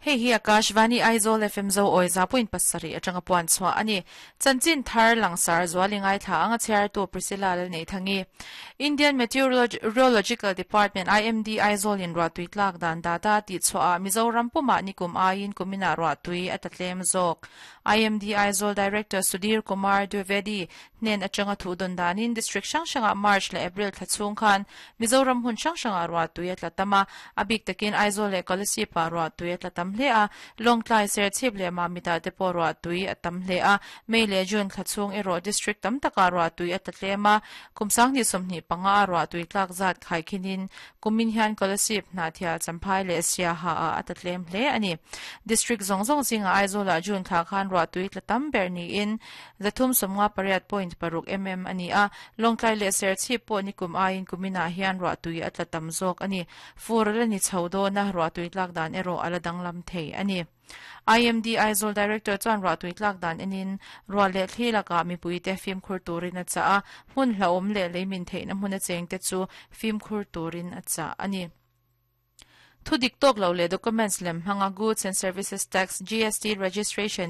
Hei hi Akashvani Aizawl FM Zo awi 100.7 atanga puan chhuah a ni. Chanchin thar langsar zuali ngaithla anga chhiartu Priscilla Lalneithangi. Indian Meteorological Department, IMD, Aizawl in ruahtui tlak dan data tih chhuah ah Mizoram pumah nikum aiin kuminah ruahtui a ta tlem zawk. IMD Aizawl Director Sudhir Kumar Dwivedi hnen atanga thu dawn danin District hrang hrangah March leh April thla chhung khan Mizoram hmun hrang hrangah ruahtui a tla tam a, a bik takin Aizawl leh Kolasib-ah ruahtui a tla tam hle a, Lawngtlai, Serchhip leh Mamitah te pawh ruahtui a tam hle a, May leh June thla chhung erawh District tam takah ruahtui a tla tlem a, kum 2025 a ruahtui tlak zat khaikhinin kumin hian Kolasib, Hnahthial, Champhai leh Siaha ah a tla tlem hle a ni. District zawng zawng zingah Aizawlah June thla khan ruahtui tla tam ber niin 358.6 mm a ni a, Lawngtlai leh Serchhip pawh nikum aiin kuminah hian ruahtui a tla tam zawk a ni. Fur a la ni chho dawn a, ruahtui tlak dan erawh a la danglam thei a ni. IMD Aizawl Director chuan ruahtui tlak dan enin ruah leh thli lakah mipuite fimkhur turin a chah a, hmun hlauhawm leh leimin theihna hmun a chengte chu fimkhur turin a chah a ni. Thu dik tawk lo leh documents lem hmanga Goods and Services Tax, GST, registration.